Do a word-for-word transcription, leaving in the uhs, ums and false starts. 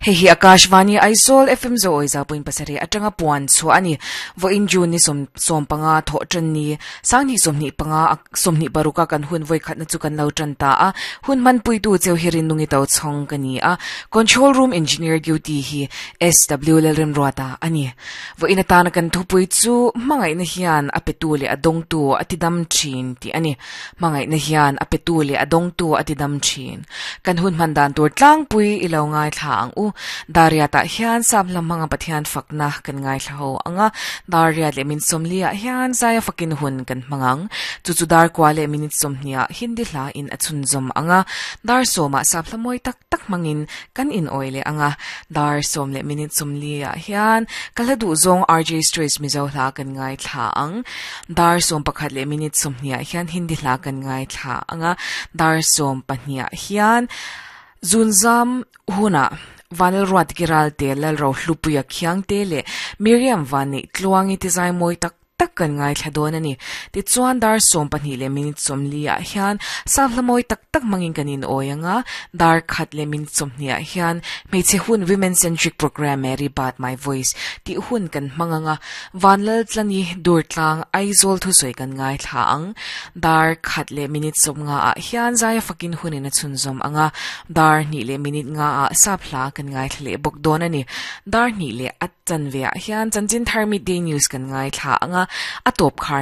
Hei hi Akashvani Aizawl F M zo oi za point pasarih atanga puan chhuah a ni. Vawiin June ni sawm sawm panga thawh tan ni sanghnih sawmhnih panga sawmhnih paruka kan hun vawi khatna chu kan lo tan ta a. Hun hmanpuitu cheu hi rinungi to chhawng ka ni a. Control room engineer duty hi S W Lalremruata a ni. Vawiin atana kan thupui chu hmangaihna hian a petu leh a dawngtu a ti dam thin tih a ni. Hmangaihna hian a petu leh a dawngtu a ti dam thin. Kan hun hman dan tur tlangpui i lo ngaithla ang u. Dariat ah hian sap lam hmanga Pathian fakna kan ngaithla ho anga. Dariat leh min sawmli ah hian zaia fakin hun kan hmang ang. Chu chu dar kua leh minute sawmhnih ah Hindi hla in a chhunzawm anga. Dar sawm ah sap hla mawi tak tak hmangin kan in awi leh anga. Dar sawm leh minute sawmli ah hian ka hla duh zawng R J Straits Mizo hla kan ngaithla ang. Dar sawm pakhat leh minute sawmhnih ah hian Hindi hla kan ngaithla anga. Dar sawm pahnih ah hian zunzam hunah Vanlal Ruat Kiral te Lalro Hlupuia Khiang te leh Miriam Vanneih Tluangi te zai mawi tak tak kan ngaithla dawn a ni. Tichuan dar sawm pahnih leh minute sawmli ah hian sap hla mawi tak tak hmangin kan in awi anga. Dar khat leh minute sawmhnih ah hian hmeichhe hun, women centric program, Mary Bat My Voice tih hun kan hmang anga. Vanlal Tlani Durtlang Aizawl thusawi kan ngaithla ang. Dar khat leh minute sawmnga ah hian zaia fakin hunin a chhunzawm anga. Dar hnih leh minute nga ah sap hla kan ngaithla leh bawk dawn a ni. Dar hnih leh a chanve ah hian chanchin thar, midday news, kan ngaithla anga. A tawp khar